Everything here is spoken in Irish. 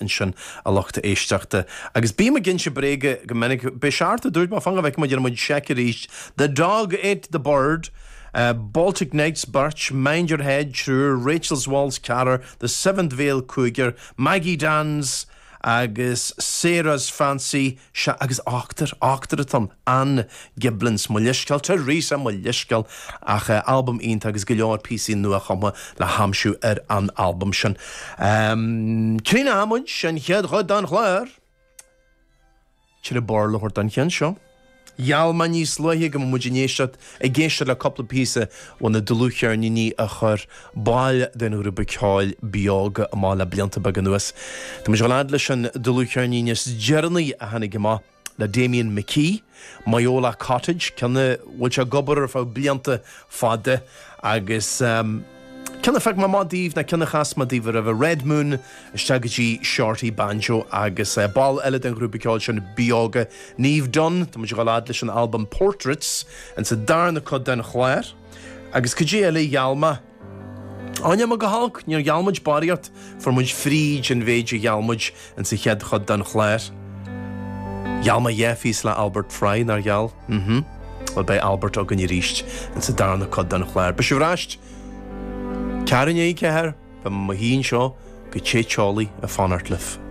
Ansin, a lucht éisteachta. Agus bím ag inse bréaga go minic. B'é seart a dúirt mé, fan go bhfeicfidh muid, déanfaidh muid seic arís. The Dog Ate the Bird, Baltic Nights, beirt, Mind Your Head, triúr, Rachel's Waltz, ceathrar, The Seventh Veil, cúigear, Maggie Dan's agus Sarah's Fancy, sea, agus ochtar, ochtar atá ann, Anne Giblins, mo leithscéal, Teresa, mo leithscéal, ach albam iontach agus go leor píosaí nua-chumtha le haimsiú ar an albam sin. Críochnóidh muid an chéad chuid den chlár. Tuilleadh Béarla a thabhairt don cheann seo. Gheall mé níos luaithe go mbeadh muid in éisteacht, ag éisteacht le cúpla píosa ó na dlúthcheirníní a chuir baill den ghrúpa ceoil Beoga amach le blianta beaga anuas. Tá muid ag dul fhad leis an dlúthcheirnín is deireanaí a tháinig amach le Damian McKee, Moyola Cottage, ceann a bhfuil sé ag obair ar feadh blianta fada agus ceann a phioc mé amach daoibh ná ceann a chas mé daoibh roimhe, Red Moon, isteach go dtí Shorty Banjo agus ball eile den ghrúpa ceoil sin, Beoga, Niamh Dunne, tá muid ag dul fhad leis an albam Portraits insa darna cuid den chlár. Agus cad é eile a gheall mé? Á, níl mé go holc, níor gheall muid barraíocht, fuair muid fríd an mhéid a gheall muid insa chéad chuid den chlár. Gheall mé dhá phíosa le Albert Fry, nár gheall? Mhm. Bhuel, beidh Albert againn arís insa darna cuid den chlár. Beidh sibh ar ais ceathrú i ndiaidh a ceathair, beidh mé i mo shuí anseo go te teolaí ag fanacht libh.